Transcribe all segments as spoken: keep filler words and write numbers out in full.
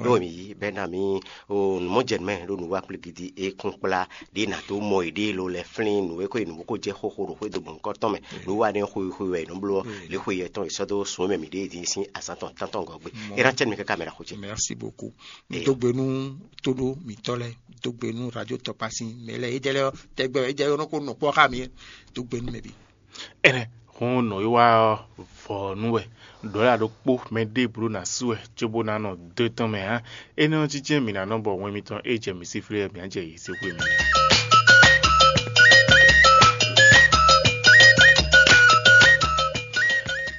Ɖó mi yí bɛ́ ná mi o nǔmɔjɛnúmɛ ɖo nǔwá kplé gidi e kún kplá ɖě nǎ dó mɔ yěɖée lo lɛ́ flín nǔ e xwé nǔ bó ko jɛ xóxó ɖo xwédo gbɔn nukɔn tɔn mɛ. Nǔwá nɛ́ xwé xwé wɛ è nɔ bló ɔ́, lě xwé yɛ tɔn è sɔ́ dó sún mɛ mǐ ɖée dín sín azǎn tɔn tántɔn gɔ́ gbe. É ná cɛ́ nú mi káká mɛ ɖaxó ce. Merci beaucoup. Dó gbe nú tóɖó mǐtɔn lɛ́ɛ, dó gbe nú radio tɔpa sín mɛ lɛ́ɛ, é jɛ lɛ́ɛ ɔ́, tɛgbɛ é jɛ ɔ́ nɔ ko nɔ kpɔ́ xá mi. Dó gbe nú mɛ bǐ. Ɛnɛ hɔn nɔ yi wá ɔ́, vɔ nú wɛ ɖɔ̌la ɖokpó mɛ ɖěbǔ ɖo ná sú wɛ cóbó ná nɔ dó tɔn mɛ ǎ. Énɛ́ ɔ́ jínjɛ́n mǐ ná nɔ bɔ wɛn mitɔn é jɛ mǐ sí flé mǐ á jɛ yě sí xwé mǐ.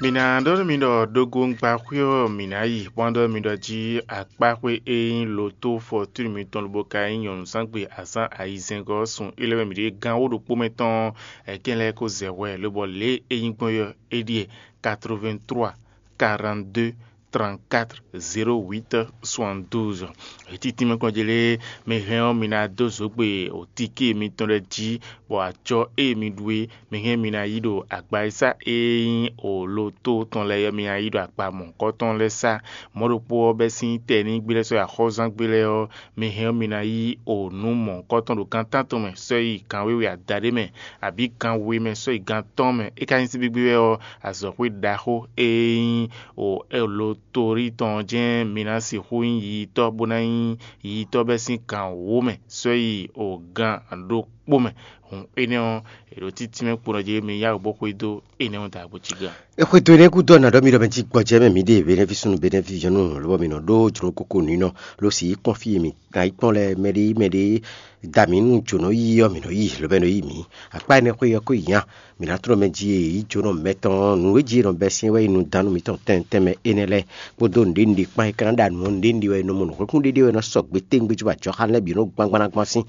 Mǐ ná ɖɔ nú mi ɖɔ ɖogo un gba xwé ɔ́ mǐ ná yi, bó ná ɖɔ nú mi ɖɔ jí akpáxwé e nyí lotó fɔtúnu mitɔn lobo ka nyí nyɔ̌nuzángbe azǎn ayizɛ́ngɔ́ ɔ́ sun é lɛ́ wɛ mǐ ɖe gán wó ɖokpó mɛ tɔn ɔ́, ɛkɛn lɛ́ɛ ko zɛ hwɛ lobɔ lě e é nyí gbɔn ɔ́ é ɖíe quatre-vingt-trois quarante-deux trente-quatre zéro huit soixante-douze. Ètítí mɛ kɔn jɛ lé mi hɛn ɔ́, mi ná dó zǒgbe òtíkí mitɔn lɛ́ɛ jí, bɔ acɔ e mi ɖu é mi hɛn mi ná yí ɖo agbaisa e nyí olo tó tɔn lɛ́ɛ mi ná yí ɖo akpa mɔ̌hunkɔtɔn lɛ́ɛ sá. Mɔ̌ ɖokpó ɔ́ bɛ́ sín tɛ ní gblɛ́ sɔ́ axɔ́zán gblɛ́ ɔ́, mi hɛn ɔ́, mi ná yí o nǔ mɔ̌hunkɔtɔn ɖo gan tántɔn mɛ sɔ́ yi gan wěwe adaɖé mɛ, abǐ gan we mɛ sɔ́ yi gan tɔn mɛ. É ka nyí síbígbí wɛ ɔ́, azɔ̌xwé ɖaxó e nyí o olo torí tɔn jɛ́n mi ná sixú nyí yiyitɔ́ bó ná nyí yiyitɔ́ bɛ́ sín gan wǒ mɛ sɔ́ yi o gan ɖokpó mɛ. Hǔn énɛ́ ɔ́, è ɖo títí mɛ kpo nɔ jí mi yá wǔ bó xwedó énɛ́ ɔ́ da bó cí gan. È xwedó énɛ́ gúdo ɔ́, nǎ ɖɔ mi ɖɔ mɛ jí gbɔjɛ́ mɛ mǐ ɖe Benɛví súnnu Benɛví yɔ́nú lobɔ mǐ nɔ ɖó jlǒ koko nǔ nɔ ló sì yi kpɔ́n fí e mǐ ná yi kpɔ́n lɛ́ɛ mɛɖé mɛɖé da mǐ nú jǒnɔ yíyí ɔ́, mǐ nɔ yí lobɔ é nɔ yí mǐ. Akpá énɛ́ xwé ɔ́ ko yi nya. Mǐ ná tlɔ́n mɛ jí e yǐ jǒnɔ mɛtɔn nǔ e jí è nɔ bɛ́ syɛ́n wɛ yi nú dánú mǐtɔn tɛnmɛ tɛnmɛ énɛ́ lɛ́ɛ kpódó nǔɖé nǔɖé kpán e ka ná ɖo anǔ ɔ́, nǔɖé nǔɖé wɛ è nɔ mɔ nǔhwɛ́nkún ɖéɖé wɛ è nɔ sɔgbe téwúngbé cóbɔ ajɔxanú lɛ́ɛ bǐ nɔ gbangban ná gbɔn sín.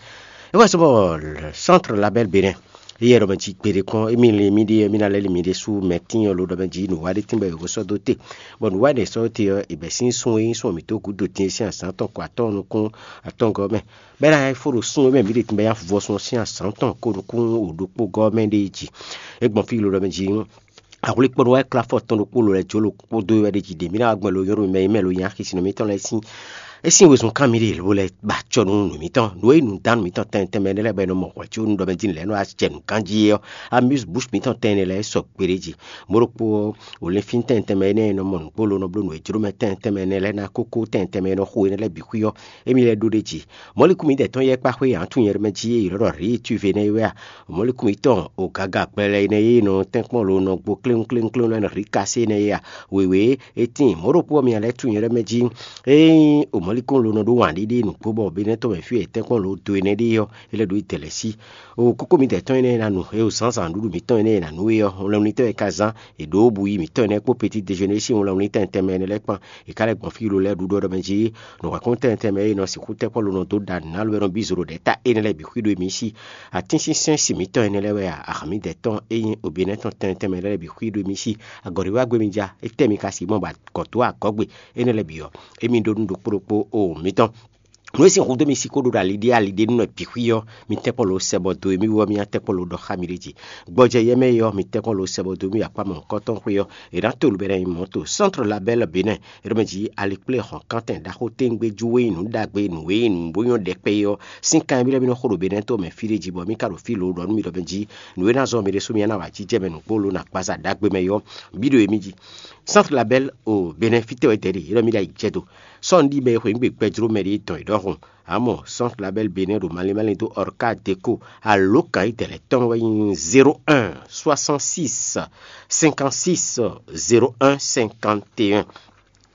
É wɛ sɔ́ bɔ Centre Label Bénin, éyɛ́ ɖɔ mɛ jí gbeɖé kpɔ́n émí lin mì ɖíe mí ná lɛ́ lin mì ɖésú mɛ tíin ɔ́ lo ɖɔ mɛ jí nǔwa ɖé tínbɔ è ko sɔ́ dó te, bɔ nǔwa ɖě sɔ́ dó te ɔ́, è bɛ̌ sín sun e nyí sun mǐtɔn gǔdo din sín azǎn tɔn ko atɔ́ɔ́n nukún atɔ́ɔ́ngɔ́ mɛ, bɔ é ná fó ɖo sun e mɛ mǐ ɖe tínbɔ é ná vɔ sun ɔ́ sín azǎn tɔn ko nukún wǒ ɖokpó gɔ́ mɛ ɖé jí. É gbɔn fí lo ɖɔ mɛ jí Ahwlíkpɔ́nɔ wɛ klá fɔ tɔn ɖokpó lo lɛ́ jó lo kpódó wɛ ɖ'é jí ɖe. Mǐ ná wá gbɛn lo nyrɔ mɛ yi mɛ lo nya xisi nɔ mǐtɔn lɛ́ɛ sín. É sín wezun kan mì ɖe lo lɛ́ ba acɔ nú nǔ mǐtɔn. Nǔ e nǔdánú mǐtɔn tɛnmɛ tɛnmɛ énɛ́ lɛ́ɛ bɔ è nɔ mɔ hwɛ̌ có nú ɖɔ mɛ jí lɛ̌ nɔ wá jɛ nǔ ganjí é ɔ́, amuse bouche mǐtɔn tɛnmɛ énɛ́ lɛ́ɛ sɔ gbeɖé jí. Mɔ̌ ɖokpó ɔ́, wǒ lɛ́ fín tɛnmɛ tɛnmɛ énɛ́ e nɔ mɔ nǔgbó lo nɔ bló nǔ e jló mɛ tɛnmɛ tɛnmɛ énɛ́ lɛ́ɛ ná kókó tɛnmɛ tɛnmɛ e nɔ xo énɛ́ lɛ́ɛ bǐ xwí ɔ́, émí lɛ́ɛ ɖó ɖ'é jí. Mɔ̌likún mǐdɛɛ tɔn yɛ kpá xwé ǎ tunwun nyɛ ɖɔ mɛ jí e yě lɔ́ ɖɔ rǐ tuve nɛ́ é wɛ a? Mɔ̌likún mǐtɔn o gaga gbɛlɛ énɛ́ e nɔ tɛ́nkpɔ́n lo nɔ gbo kléwúnkléwúnkléwún lɛ́ɛ nɔ rǐ kasé énɛ́ é a? Wěwé é tíin mɔ̌ ɖokpó ɔ́ mì lɛ́ tunwun nyɛ ɖɔ mɛ jí. Ényí o mɔ̌likún lo nɔ ɖó wǎn ɖíɖí nǔgbó bɔ Benɛ́ tɔn mɛ fí e è tɛ́nkpɔ́n lo dó énɛ́ ɖe ɔ́, é lɛ́ ɖo yi dɛ̌ lɛ́ɛ sí. O kókó mǐdɛɛ tɔn énɛ́ e ná nu, é o zǎnzǎn nǔɖuɖu mǐtɔn énɛ́ e è nǎ nú é ɔ́, lɛ́nglɛ́núnítɔ́ e ka zán è ɖǒ bu yi mǐtɔn énɛ́ kpó petit déjeuner sín wlɛnwlítɛn tɛnmɛ énɛ́ lɛ́ɛ kpán. È ka lɛ́ gbɔn fí lo lɛ́ɛ ɖuɖu ɔ́ ɖɔ mɛ jí nǔhwɛ́nkún tɛnmɛ tɛnmɛ e nɔ sixú tɛ́ kpɔ́ lo nɔ dó ɖa nǔ ná lo wɛ nɔ bí zǒ ɖo ɖɛ̌ ta énɛ́ lɛ́ɛ bǐ xwí ɖó émí sí. Atínsínsɛ́n sin mǐtɔn énɛ́ lɛ́ɛ wɛ a? Ahǎnmídɛɛ tɔn e nyí Obinɛ́ tɔn tɛnmɛ tɛnmɛ lɛ́ɛ bǐ xwí ɖó émí sí. Agɔ̌ɖiwágbé mi ja, étɛ́ mi ka sixú mɔ bɔ agɔ̌ dó agɔ̌gbe énɛ́ lɛ́ɛ bǐ ɔ́, émí ɖó nú ɖokpó ɖokpó o mǐtɔn. Nǔ e sín hudó mi sixú ɖo ɖo ali ɖé ali ɖé nú nɔ bǐ xwí ɔ́, mi tɛ́nkpɔ́n lo sɛ bɔ do e mì wú ɔ́, mì ná tɛ́nkpɔ́n lo ɖɔ xá mi ɖ'é jí. Gbɔjɛ yɛmɛ e ɔ́, mi tɛ́nkpɔ́n lo sɛ bɔ do mì akpá mɔ̌hunkɔtɔn xwé ɔ́, è nǎ to nǔ bɔ é ná nyí mɔ̌ to Centre Label Bénin, é ɖɔ mɛ jí alikplé hɔn kántɛn ɖaxó téńgbé jú e nyí nǔ ɖagbe nǔ e nyí nǔ bó nyɔ́ ɖɛkpɛ é ɔ́, sín kan e mì lɛ́ mì nɔ xo ɖo Bénin to mɛ fí ɖé jí bɔ mì ka ɖo fí lo ɖɔ nú mi ɖɔ mɛ jí nǔ e ná zɔ́n mi ɖésú mi ná wǎ jijɛ mɛ nǔgbó lo nɔ agbaza ɖagbe mɛ é ɔ́, bǐ ɖo émí jí. Centre Label o Bénin fítɛ́ wɛ dɛ̌ ɖe, é ɖɔ mì ɖo ayi jɛ do. Sɔ́ un ɖi mɛ e xweyǐgbe gbɛjló mɛ ɖě dɔn è ɖɔhun. Amɔ̌, Centre Label Bénin ɖo malín málín dó Orca Déco. Alǒkan e dɛ̌ lɛ́ɛ tɔn wɛ nyí zéro un soixante-six cinquante-six zéro un cinquante et un.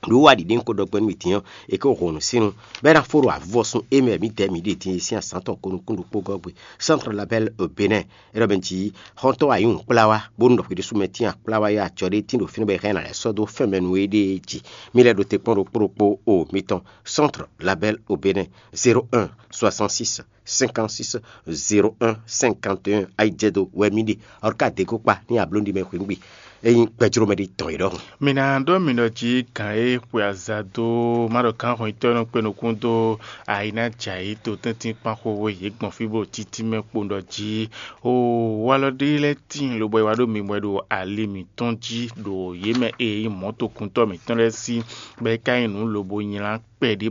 Ɖó wa ɖiɖe un ko ɖɔ gbɛ́ nú mi din ɔ́, è ko hɔn nǔ sín nu, bɔ é ná fó ɖo avɔsun e mɛ mǐdɛɛ mǐ ɖe din e sín azǎn tɔn ko nukún ɖokpó gɔ́ gbe. Centre Label Bénin, é ɖɔ mɛ jí xɔ́ntɔn ayǐhun kplá wá, bónú ɖɔ xwé ɖésú mɛ tín akplá wá yá acɔ ɖé tín ɖo fínɛ́ bɔ è hɛn ná lɛ́ sɔ́ dó fɛn mɛ nú éɖée jí. Mi lɛ́ ɖo te kpɔ́n ɖokpó ɖokpó o mitɔn. Centre Label au Bénin, zéro un soixante-six cinquante-six zéro un cinquante et un, ayi jɛ do wɛ mi ɖe. Ɔrka deko kpa ní abló ɖi mɛ xwé ngbé. Eyin gbɛjló mɛ ɖi tɔn yi ɖɔhun. Mi ná ɖɔ mi ɖɔ jí gǎn e xwe aza dó má ɖɔ gǎn hɔnyitɔ́ nɔ kpé nukún dó ayi ná jɛ ayǐ to tɛ́ntin kpán xóxó yě gbɔn fí bó títí mɛ kpo ɖɔ jí o walɔ ɖé lɛ́ɛ tíin lobɔ é wá ɖo mi wɛ ɖo ali mǐtɔn jí ɖo yě mɛ e nyí mɔ̌tokuntɔ́ mǐtɔn lɛ́ɛ sí, bɔ é ka nyí nǔ lobo nylá kpɛɖé bɔ